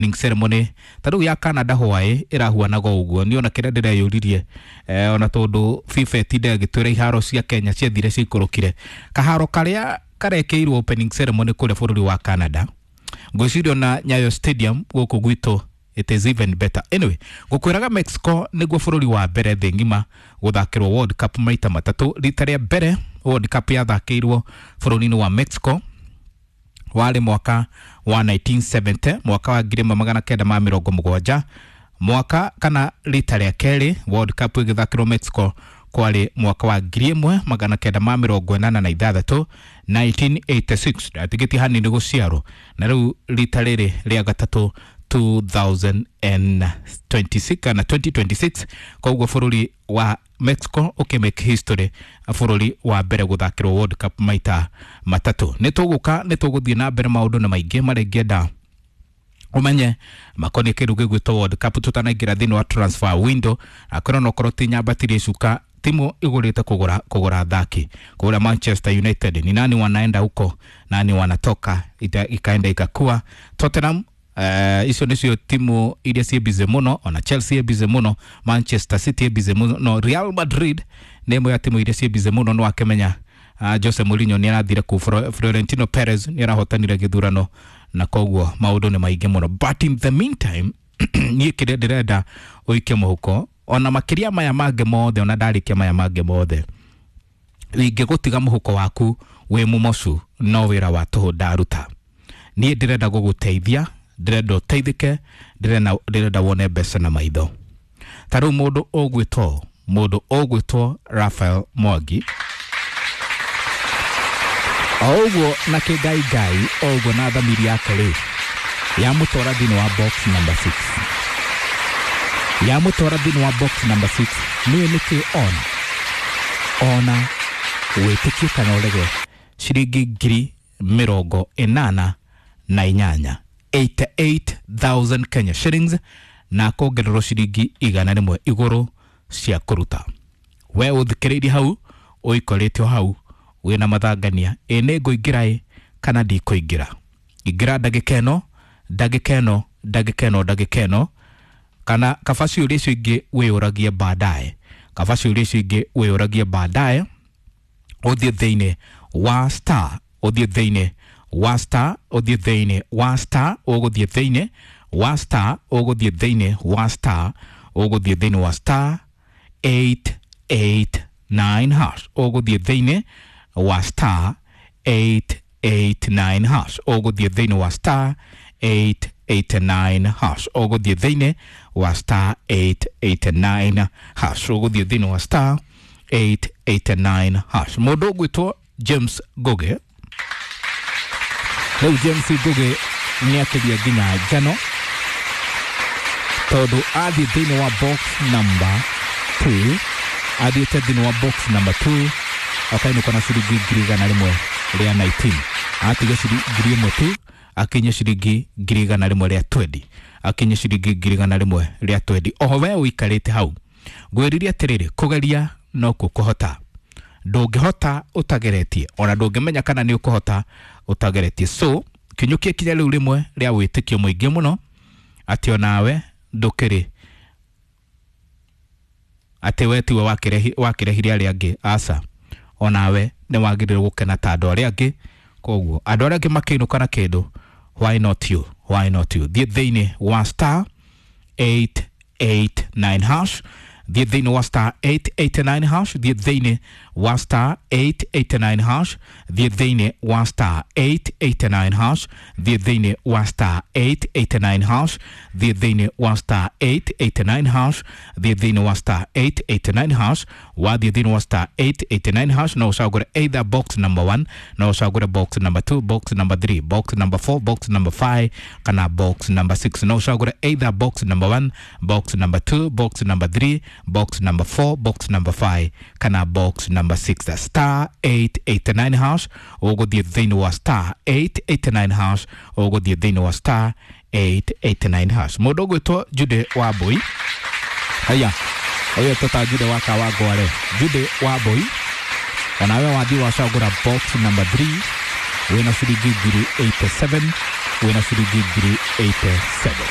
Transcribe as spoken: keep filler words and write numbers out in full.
Ceremony ta rĩu ya Canada Hawaii ĩrahuanaga ũguo. Niĩ ona kĩrĩa ndĩreyũririe, eh, ona tondũ FIFA ĩtinde ĩgĩtwĩra iharo cia Kenya ciathire ciikũrũkire kaharo karĩa karekĩirwo opening ceremony kũrĩa bũrũri wa Canada, ngwĩciria ona Nyayo Stadium gũkũ gwitũ it is even better. Anyway, ngũkwĩraga Mexico nĩguo bũrũri wa mbere thĩ ng'ima gũthakĩrwo World Cup maita matatũ. Rita rĩa mbere World Cup yathakĩirwo bũrũri-inĩ wa Mexico warĩ mwaka wa nineteen seventy, mwaka wa ngiri ĩmwe magana kenda ma mĩrongo mũgwanja. Mwaka kana rita rĩa kerĩ World Cup ĩgĩthakĩrwo Mexico kwarĩ mwaka wa ngiri ĩmwe magana kenda ma mĩrongo ĩnana na ithathatũ, nineteen eighty-six. Ndatigĩtie hanini gũciarwo. Na rĩu rita rĩrĩ rĩa gatatũ two thousand and twenty-six kana twenty twenty-six, koguo bũrũri wa Mexico ũkĩmake history, bũrũri wa mbere gũthakĩrwo World Cup maita matatũ. Nĩ tũgũka, nĩ tũgũthiĩ na mbere maũndũ na maingĩ marĩa ingĩenda ũmenye makoniĩ kĩndũ gĩgwĩtwo World Cup tũtanaingĩra thĩinĩ wa transfer window. Akorwo no korwo ti nyambatirie cuka timu igũrĩte kũgũra, kũgũra athaki kũgũra Manchester United, ni nani wanaenda huko, nani wanatoka, ita, ikaenda ikakua. Tottenham, Uh, icio nicio timu iria ciĩ busy mũno, ona Chelsea ĩ busy mũno, Manchester City ĩ busy mũno, Real Madrid nĩ ĩmwe ya timu iria ciĩ busy mũno. Nĩ wakĩmenya, uh, Jose Mourinho nĩ arathire kũu, Fro-, Florentino Perez nĩ arahotanire gĩthurano, na koguo maũndũ nĩ maingĩ mũno. But in the meantime, niĩ kĩrĩa ndĩrenda ũikie mũhuko ona makĩria maya mangĩ mothe, ona ndarĩkia maya mangĩ mothe, ingĩgũtiga mũhuko waku wĩ mũmocu, no wĩra wa tũhũ ndaruta. Niĩ ndĩrenda gũgũteithia, ndĩrenda ũteithĩke, ndĩrenda, ndĩrenda wone mbeca na maitho. Ta rĩu mũndũ ũgwĩtwo, mũndũ ũgwĩtwo Raphael Mwangi, o ũguo na kĩngai ngai, o ũguo na thamiri yake rĩ, yamũtwara thĩinĩ wa box number six. Yamũtwara thĩinĩ wa box number six, nĩwe nĩkĩ ona? Ona wĩtĩkie kana ũrege, ciringi ngiri mĩrongo ĩnana na inyanya, eighty-eight thousand Kenya shillings, na kongererwo ciringi igana rĩmwe igũrũ cia kũruta. We ũthikĩrĩirie hau, ũikorĩte o hau, wĩna mathangania, ĩ nĩ ngũingĩra ĩ kana ndikũingĩra. Ingĩra ndagĩka ĩno, ndagĩka ĩno, ndagĩka ĩno, ndagĩka ĩno, kana kaba ciũria icio ingĩ wĩyũragie baadaye, kaba ciũria icio ingĩ wĩyũragie baadaye, ũthiĩ thĩinĩ wa star, ũthiĩ thĩinĩ wa star, ũthiĩ thĩinĩ wa star, ũgũthiĩ thĩinĩ wa star, ũgũthiĩ thĩinĩ wa star, ũgũthiĩ thĩinĩ wa star eight eight nine hash, ũgũthiĩ thĩinĩ wa star eight eight nine hash, ũgũthiĩ thĩinĩ wa star eight eight nine hash, ũgũthiĩ thĩinĩ wa star eight eight nine hash, ũgũthiĩ thĩinĩ wa star eight eight nine hash. Mũndũ ũgwĩtwo James Ngugi, rĩu James Ngugi nĩ akĩria nginya njano, tondũ athiĩ thĩinĩ wa box number two, athiĩte thĩinĩ wa box number two akainũka na ciringi ngiri igana rĩmwe rĩa nineteen, atiga ciringi ngiri ĩmwe tu akinye ciringi ngiri igana rĩmwe rĩa twenty, akinye ciringi ngiri igana rĩmwe rĩa twenty. Oho we ũikarĩte hau, ngwĩrire atĩrĩrĩ, kũgeria no kuo kũhota, ndũngĩhota ũtageretie, ona ndũngĩmenya kana nĩ ũkũhota ũtageretie. So kinyũkia kinya rĩu rĩmwe rĩa wĩtĩkio mũingĩ mũno atĩ onawe ndũkĩrĩ atĩ we tiwe wakĩrehi-, wakĩrehire arĩa angĩ, aca, onawe nĩ wagĩrĩirwo gũkena ta andũ arĩa angĩ. Koguo andũ arĩa angĩ makĩinũka na kĩndũ, why not you, why not you? Thiĩ thĩinĩ wa star eight eight nine hash, thiĩ thĩinĩ wa star eight eight nine hash, thiĩ thĩinĩ wa star eight eight nine hash, thiĩ thĩinĩ wa star eight eight nine hash, thiĩ thĩinĩ wa star eight eight nine hash, thiĩ thĩinĩ wa star eight eight nine hash, thiĩ thĩinĩ wa star eight eight nine hash, wathiĩ thĩinĩ wa star eight eight nine hash, no ũcagũre either box number one, no ũcagũre box number two, box number three, box number four, box number five, kana box number six. No ũcagũre either box number one, box number two, box number three, box number four, box number five, kana box number six. Star eight eight nine hash, ũgũthiĩ thĩinĩ wa star eight eight nine hash, ũgũthiĩ thĩinĩ wa star eight eight nine hash. Mũndũ ũgwĩtwo Jude Wambui, haya ũyũ tũta Jude wa Kawangware, Jude Wambui, onawe wathiĩ wacagũra box number three wĩna ciringi ngiri eighty-seven, Wĩna ciringi ngiri eighty-seven.